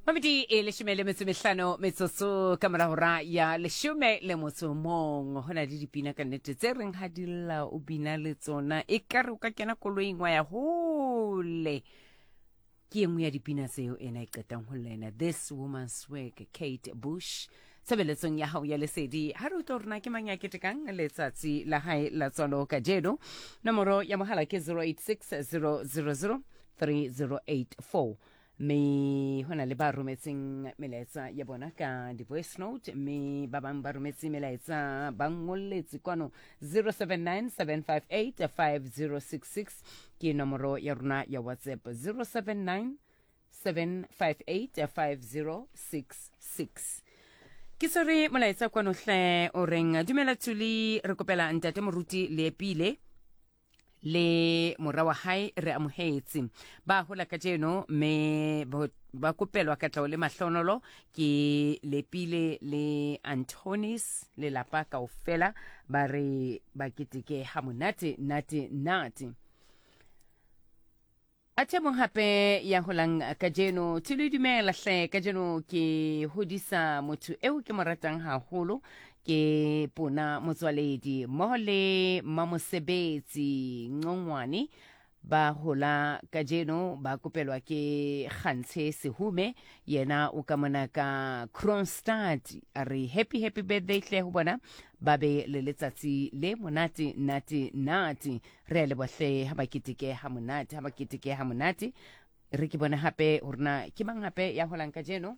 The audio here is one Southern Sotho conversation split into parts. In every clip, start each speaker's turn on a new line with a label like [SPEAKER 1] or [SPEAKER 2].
[SPEAKER 1] Mamedi e leshome le metso mehlano metsotso ka mora hora ya leshome le motso mong. Ho na le dipina ka nnete tse reng ha di lla o bina le tsona. E ka re o ka kena koloing wa ya hole. Ke e nngwe ya dipina tseo ena e qetang ho lla ena This Woman's Work, Kate Bush. Tshebeletsong ya hao ya lesedi ha re utlwa rona ke mang ya ketekang letsatsi la hae la tswalo kajeno. Nomoro ya mohala ke 086 000 3084. Mme ho na le ba rometseng melaetsa ya bona ka di-voice note, mme ba bang ba rometse melaetsa ba ngolletse kwano 079 758 5066 ke nomoro ya rona ya WhatsApp, 079 758 5066. Ke swere molaetsa kwano hle o reng, dumela Tuli, re kopela ntate moruti Leepile le mora wa hae re amohetse ba hola kajeno, mme ba kopelwa katleho le mahlonolo ke Lepile le Antonis lelapa kaofela, ba re ba keteke ha monate nate nate. A the mong hape ya holang kajeno, Thulu dumela hle, kajeno ke hodisa motho eo ke mo ratang haholo, ke Pona Motswaledi mmoho le Mamosebetsi Nqongwane, ba hola kajeno, ba kopelwa ke Kgantshe Sehume, yena o ka mona ka Kroonstad. A re happy happy birthday hle ho bona, ba be le letsatsi le monate nate nate. Re a leboha hle, ha ba keteke ha monate, ha ba keteke ha monate. Re ke bone hape hore na ke mang hape ya holang kajeno.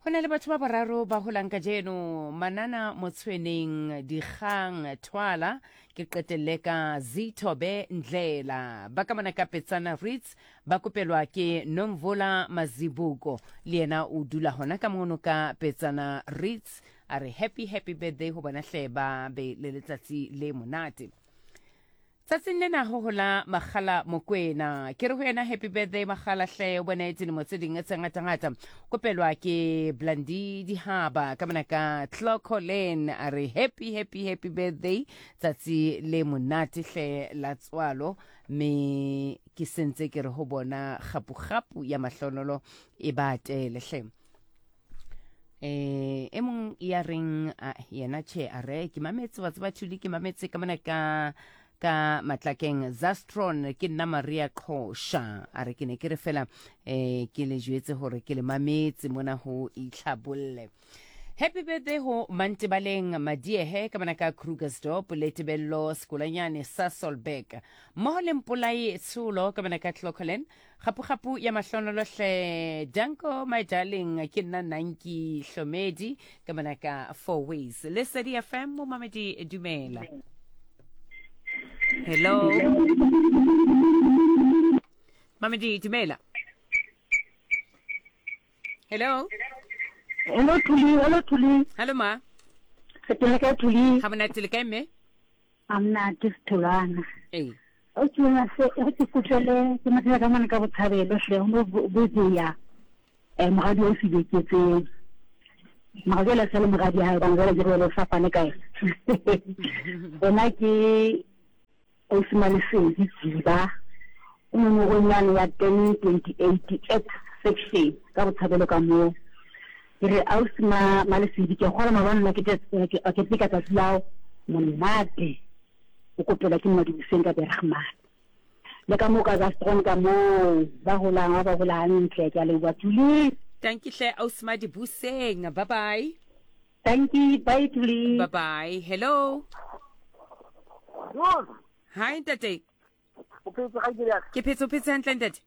[SPEAKER 1] Ho na le batho ba boraro ba holang kajeno, Manana Motshweneng, Dikgang Thwala, ke qetelle ka Zithobe Ndlela. Ba ka mona ka Petsana Ritz, ba kopelwa ke Nomvula Mazibuko, le yena o dula hona ka mono ka Petsana Ritz. A re happy happy birthday ho bona hle, ba be le letsatsi le monate. Tsatsing lena ho hola Makgala Mokwena. Ke re ho yena happy birthday Makgala hle, o bone dilemo tse ding tse ngatangata. Kopelwa ke Blandi Dihaba ka mona ka Clocolan. A re happy happy happy birthday, tsatsi le monate hle la tswalo. Me ke sentse ke re ho bona kgapu-kgapu ya mahlonolo e ba atele hle. Eh, e mong ya reng yena che a re ke mametse wa tseba Thuli, ke mametse ka mona ka ka Matlakeng Zastron, ke nna Maria Qhosha. A re ke ne ke re fela eh ke le jwetse hore ke le mametse mona ho itlhabolle. Happy birthday ho Mantebaleng Madiehe ka mona ka Krugersdorp le Tebello Sekolanyane Sasolburg mmoho le Mpolai Tsholo ka mona ka Clocolan. Gapu-gapu ya mahlonolo hle. Danko my darling, ke nna Nanki Hlomedi ka mona ka Four Ways. Lesedi FM mo mamedi dumela. Hello. Mamedi dumela. Hello.
[SPEAKER 2] Hello Thuli, hello Thuli.
[SPEAKER 1] Hello ma.
[SPEAKER 2] Re teng le kae Thuli?
[SPEAKER 1] Ha monate le kae mme?
[SPEAKER 2] A monate Setholwana.
[SPEAKER 1] Ee.
[SPEAKER 2] O ke yona se e ke kutlwele ke mathela ka mane ka botshabelo hle ho no bozeya eh moradi o sebeketseng. Mara jwale sa le moradi hae bana jwale ke re o fapane ka ena. Ena ke Ausi Malesedi Jiba o nomorong yane ya 1028 X section ka botshabelo ka moo. Ke re ausi ma Malesedi ke kgolwa maobane nna ke ke ka tsatsi lao monate o kopelwa ke Mmadibuseng ka Bergman. Le ka moo ka Zastron ka moo ba holang ba ba hola hantle ke a leboha Tuli.
[SPEAKER 1] Tanki hle ausi Madibuseng. Bye bye.
[SPEAKER 2] Thank you. Bye Tuli.
[SPEAKER 1] Bye bye. Hello.
[SPEAKER 3] Rose.
[SPEAKER 1] Hi ntate.
[SPEAKER 3] O phetse ga ke
[SPEAKER 1] Ke phetse o phetse hantle ntate.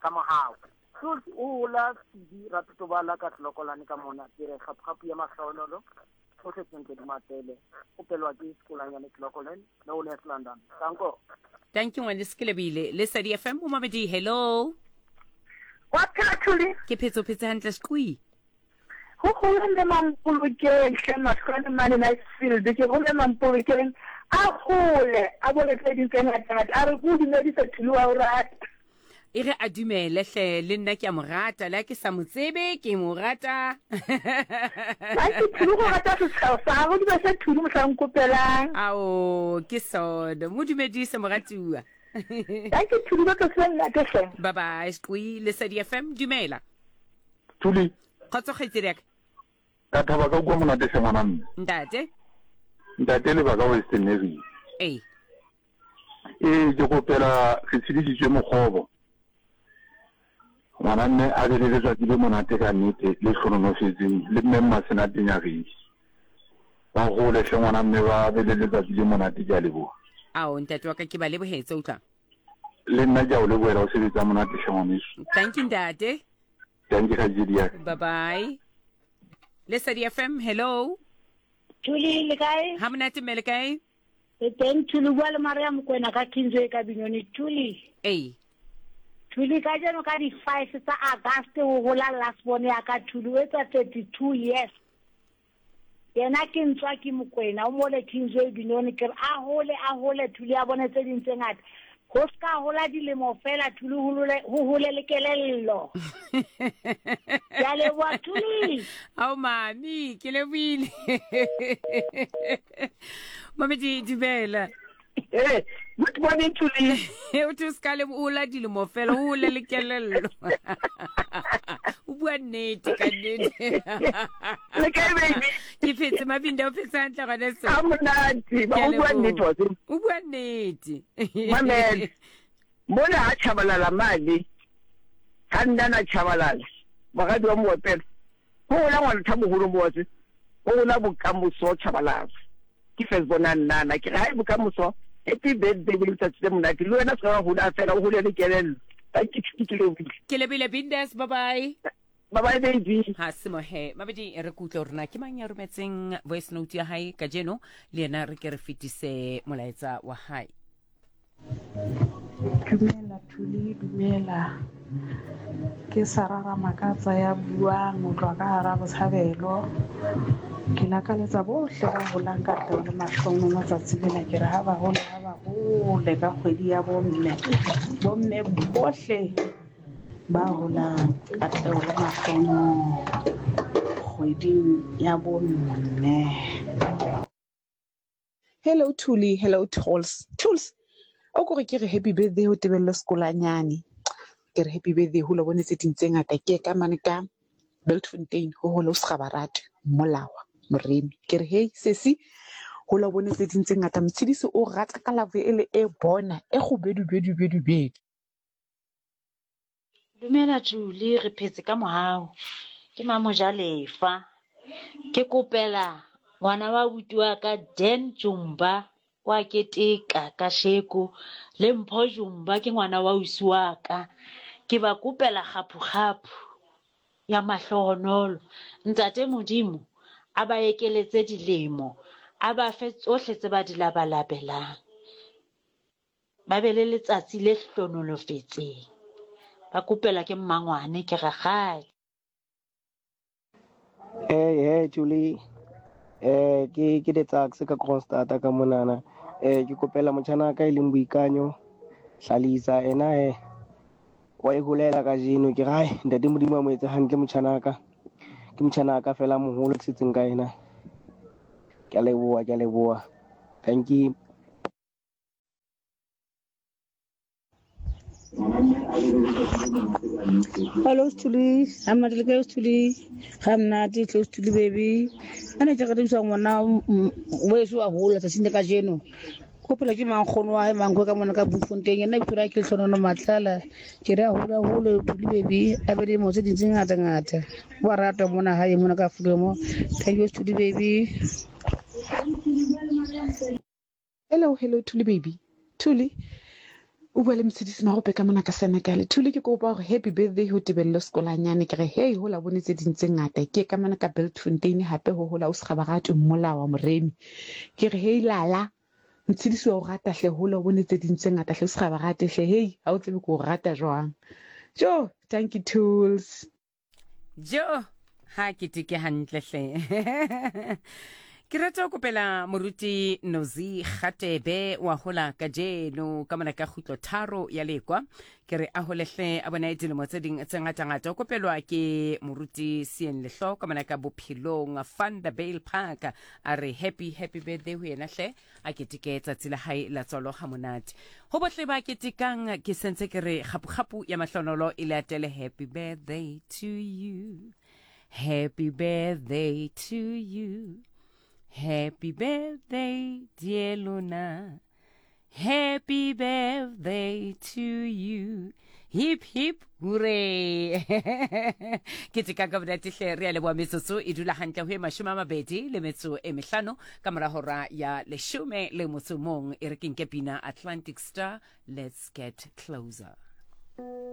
[SPEAKER 3] Ka mohau. Rose o hola Sidi Ratotobala ka Tlokolane ka mona ke re gapugapu ya mahlonolo tsohle tsentle di matele o pelwa ke sekolanyane Tlokolen le o West London. Danko.
[SPEAKER 1] Thank you ngwane Sekelebile. Lesedi FM o mamedi hello.
[SPEAKER 4] Wa phela Thuli?
[SPEAKER 1] Ke phetse o phetse hantle sequi.
[SPEAKER 4] Go gole mme Mampolokeng hle mahlwane mane Nightfield ke gole Mampolokeng a gole a bone tse ding tse ngatangata a re ko dumedisa Thuli wa o rata.
[SPEAKER 1] E re a dumele hle le nna ke a mo rata le ha ke sa mo tsebe ke mo rata.
[SPEAKER 4] Ke Thuli go rata setshego sa gago di ba se Thuli mohlang kopelang.
[SPEAKER 1] Ao ke sona mo dumedise moratuwa.
[SPEAKER 4] Thank you Thuli ba tlo se nna ke hle.
[SPEAKER 1] Bye bye Squi Lesedi FM dumela.
[SPEAKER 5] Thuli.
[SPEAKER 1] Kgotso kgaitsedi ya ka.
[SPEAKER 5] Ka thaba ka ukwa monate hle ngwana mme.
[SPEAKER 1] Ntate.
[SPEAKER 5] Ntate le ba ka Western Area.
[SPEAKER 1] Ee.
[SPEAKER 5] Ee, ke kopela re tshedisitswe mokgobo. Ngwana mme a be le letsatsi le monate ka nnete le hlononofetseng le mme Mmasenate Nyagedi. Ba gole hle ngwana mme ba be le letsatsi le monate ke a leboha.
[SPEAKER 1] Ao ntate wa ka ke ba lebohetse utlwa.
[SPEAKER 5] Le nna ke a o lebohela o sebetsa monate hle ngwaneso.
[SPEAKER 1] Thank you ntate.
[SPEAKER 5] Thank you kgaitsedi ya ka.
[SPEAKER 1] Bye bye. Lesedi FM, hello.
[SPEAKER 2] Thuli le kae?
[SPEAKER 1] Ha monate mme le kae?
[SPEAKER 2] Le teng Thuli bua le Maria Mokwena ka Kingsway ka Binyone Thuli.
[SPEAKER 1] Ee.
[SPEAKER 2] Thuli ka jeno ka di 5 tsa August o hola last born ya ka Thuli o etsa 32 years. Yena ke ntswa ke Mokwena o mole Kingsway Binoni ke re a hole a hole Thuli a bone tse ding tse ngata ho se ka hola dilemo fela Thuli ho hole le kelello. Ke a leboha Thuli.
[SPEAKER 1] Ao mami ke lebohile. Mami dumela.
[SPEAKER 4] Hey, good morning Thuli.
[SPEAKER 1] O thwe se ka le ola dilemo fela o hole le kelello. O bua nnete ka nnete.
[SPEAKER 4] Le kae baby?
[SPEAKER 1] Ke phetse Mabinda o phetse hantle gone so.
[SPEAKER 4] A monate, ba o bua nnete wa tseba.
[SPEAKER 1] O bua nnete.
[SPEAKER 4] Mamela. Mona ha Tshabalala mane, ha nna na Tshabalala, moradi wa Moopelo, ho hola ngwana Thaboholo mo wa tseba, ho hola bokamoso Tshabalala. Ke first bona nnana ke re hai bokamoso happy birthday le letsatsi le monate le wena se ka wa hola fela o hole le kelello. Thank you ke lebohile.
[SPEAKER 1] Ke lebile Bindas bye bye.
[SPEAKER 4] Bye bye baby.
[SPEAKER 1] Ha se mohe mabedi re kutlwe hore na ke mang ya rometseng voice note ya hae kajeno le yena re ke re fetise molaetsa wa hae.
[SPEAKER 6] Dumela Thuli, dumela. Ke Sarah Ramakatsa ya buang ho tloha ka hara Botshabelo. Ke lakaletsa bohle ba holang katleho le mahlohonolo tsatsi lena. Ke re ha ba hole, ha ba hole ka kgwedi ya bomme. Bomme bohle ba holang katleho le mahlohonolo kgweding ya bomme.
[SPEAKER 7] Hello Thuli, hello Tools. Tools, o kore ke re happy birthday ho Tebello Sekolanyane. Ke re happy birthday ho lo bone tse ding tse ngata ke ka mane ka Bultfontein ho holo Sgabarate Molawa Moremi. Ke re hey sesi ho lo bone tse ding tse ngata Motshidisi o rata ka love e le e bona e kgubedu bedu bedu bedu.
[SPEAKER 8] Dumela Julie, re phetse ka mohau. Ke Mamojalefa. Ke kopela ngwana wa abuti wa ka Dan Jumba wa keteka kasheko le Mpho Jumba ke ngwana wa ausi wa ka. Ke ba kopela kgaphu-kgaphu ya mahlohonolo. Ntate Modimo a ba ekeletse dilemo, a ba fe tsohle tse ba di labalabelang. Ba be le letsatsi le hlonolofetseng. Ba kopelwa ke mmangwane, ke rakgadi.
[SPEAKER 9] Hey, hey, Julie. Eh, ke ke Letsakse ka Kroonstad ka monana. Eh, ke kopela motjhana ka e leng Boikanyo Hlalisa ena eh wa e holela kajeno ke re hai ntate Modimo a mo etse hantle motjhana ka. Ke motjhana ka fela moholo ke setseng ka ena. Ke a leboha, ke a leboha. Thank you.
[SPEAKER 10] Hello Sthuli, ha monate le kae Sthuli? Ga monate tle Sthuli baby. A ne ke re bisa ngwana weso wa hola tsatsing le kajeno. Ko phela ke mankgono wa hae mankgo ka mona ka Bloemfontein. Yena bitso la ke Hlonono Matlala. Ke re a hola hole Thuli baby a be le dilemo tse ding tse ngata ngata. Wa ratwa mona hae mona ka Afrika mo. Thank you Sthuli baby.
[SPEAKER 7] Hello, hello, Thuli baby. Thuli, o bua le Motshedisi Marope ka mona ka Senekale. Thuli, ke kopa hore happy birthday ho Tebello Sekolanyane. Ke re, hey, hola bone tse ding tse ngata. Ke ka mona ka Bultfontein hape ho hola o Sgabaratu Mmolawa Moremi. Ke re, hey, lala. Motshedisi wa o rata hle, hola o bone tse ding tse ngata hle, o Sgabaratu hle. Hey, ha o tsebe ke o rata jwang. Jo, thank you, Tools.
[SPEAKER 1] Jo, ha ke teke hantle hle. Ke rata ho kopela moruti Nozi Gatebe wa hola kajeno ka mona ka kgutlo tharo ya lekwa. Ke re a holehle a bona dilemo tse ding tse ngatangata. O kopelwa ke moruti Sien Lehlo ka mona ka bophelong Van der Bijl Park. A re happy happy birthday ho yena hle a keteke tsatsi la hae la tswalo ha monate. Ho bohle ba ketekang ke sentse ke re kgapu-kgapu ya mahlonolo e le atele happy birthday to you. Happy birthday to you. Happy birthday, dear Luna. Happy birthday to you. Hip hip hooray. Ke teka ka monate hle re a leboha metsotso e dula hantle ho e 25 le metso e mehlano ka mora hora ya leshome le motso mong e re ke nke pina Atlantic Star let's get closer.